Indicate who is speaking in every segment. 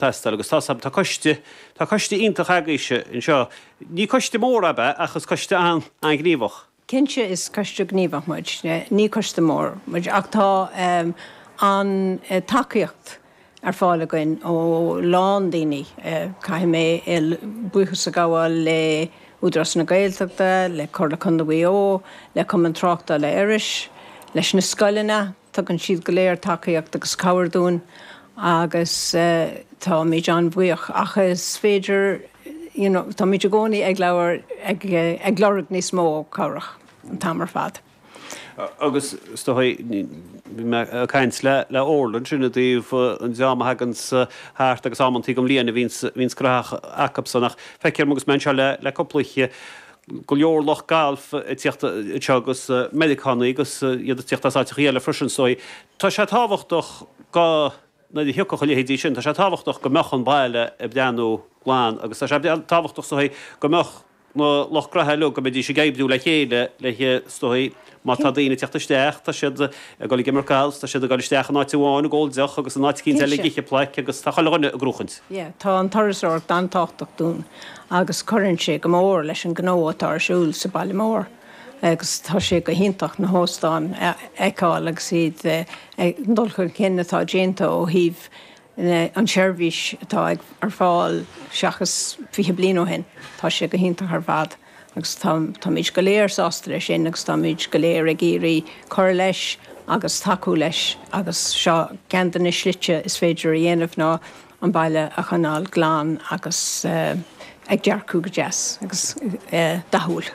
Speaker 1: Teastáil agus tá tá coiste, tá coiste iontach agaibhse anseo. Ní coiste mór ab ea ach is coiste an-ghníomhach.
Speaker 2: Cinnte is coiste gníomhach muid. Ní coiste mór muid ach tá an-tacaíocht ar fáil againn ó lán daoine. Caithfidh mé buíochas a ghabháil le Údarás na Gaeltachta, le Comhairle Contae Mhaigh Eo, le Cumann Tráchtála Iorrais, leis na scoileanna, Tugann siad go léir tacaíocht agus cabhair dúinn agus táimid an-bhuíoch. Ach is féidir, you know, táimid i gcónaí ag labhair, ag, ag lorg níos mó cabhrach an t-am ar fad.
Speaker 1: Agus is dóigh, bhí mé ag caint le, le Orla ansin i dtaobh an dream a thaganns thart agus amantaí den bhliain a bhíonns, bhíonns graitheach acubsan ach feictear dom agus mé anseo le, le cúpla oíche, go leor lucht gailf ag tíocht anseo agus Meiriceánaigh agus iad ag tíocht as áiteachaí eile freisin so tá sé tábhachtach go nuair a thiocfadh a leithéidí sin tá sé tábhachtach go mbeadh an baile ag breathnú glan agus tá sé tábhachtach is dóigh go mbeadh na lucht graithe uilig go mbeidís ag oibriú le chéile le is dóigh má tá daoine ag tíocht isteach tá siad ag dul ag imirt gailf tá siad ag dul isteach in áit amháin ag ól deoch agus in áit eicínt eile ag ithe plaic agus tá chuile dhuine ag gnóchaint.
Speaker 2: Yeah, tá an turasóireacht an-tábhachtach dúinn agus cuireann sé go mór leis an gnó atá ar siúl sa baile mór agus tá sé go hiontach na hóstáin a fheiceáil agus iad ag dul chun cinn atá déanta ó thaobh an tseirbhís atá ar fáil seachas 20 bliain ó shin. Tá sé go hiontach ar fad agus táimid go léir sásta leis sin agus táimid go léir ag iarraidh cur leis agus tacú leis agus seo ceann de na slite is féidir a dhéanamh ná an baile a choinneáil glan agus ag dearcú go deas agus dathúil.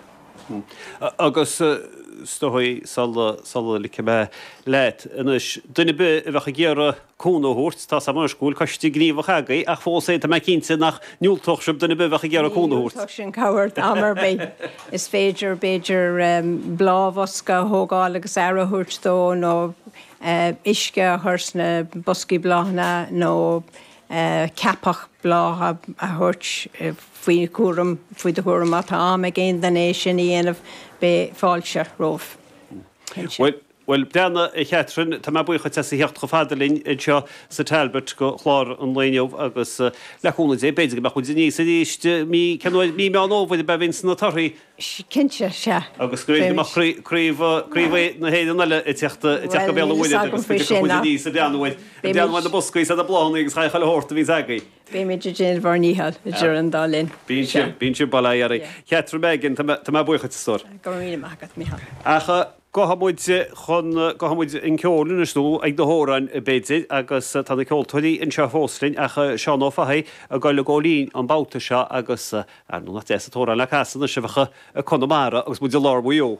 Speaker 1: Agus is dóigh sula sula ligfidh mé leat anois, duine ar bith a bheadh ag iarraidh cúnamh a thabhairt, tá 's agam anois go bhfuil coiste gníomhach agaibh ach fós féin tá mé cinnte nach ndiúltódh sibh duine ar bith a bheadh ag iarraidh
Speaker 2: Ní
Speaker 1: cúnamh a thabhairt.
Speaker 2: dhiúltódh sinn cabhair am ar bith. Is féidir b'fhéidir bláthbhosca a thógáil agus aire a thabhairt dó nó uisce a chur sna boscaí bláthanna nó ceapach blátha a thabhairt faoi chúram, faoi do chúram má tá am ag aon duine é sin a dhéanamh, beidh fáilte romhaibh,
Speaker 1: cinnte. Bhuel, breathnaigh, a Chatherine, tá mé buíoch duit as a theacht chomh fada linn anseo sa Talbot go chlár an lae inniu agus le cúnamh Dé, b'fhéidir go mbeadh muid aníos arís mí, cén uair, mí Meán Fhómhair ab ea a bhíonns na torthaí?
Speaker 2: Cinnte, sea.
Speaker 1: Agus go mbeadh craobh, craobh na hÉireann eile ag teacht ag teacht go Béal an Mhuirthead agus go dtiocfadh muid aníos ag breathnú ar, ag breathnú ar na boscaí is ar na bláthanna agus chuile shórt a bhíonns agaibh.
Speaker 2: Beimid ag déanamh ár ndícheall idir an dá linn.
Speaker 1: Bíonn sibh, bíonn sibh, bail ó Dhia oraibh. Catherine Megan, tá mé, tá mé buíoch duit, a stór.
Speaker 2: Go raibh míle maith agat, Mícheál.
Speaker 1: Ach gabhfaidh muid chun, gabhfaidh muid an ceol anois nó ag na hamhráin b'fhéidir agus tá na ceoltóirí anseo fós linn ach Seán Ó Fathaigh ag dul ag gabháil fhoinn an babhta seo agus Ar ndóigh nach deas an t-amhrán le casadh anois a bheadh i Conamara agus muid i lár Mhaigh Eo.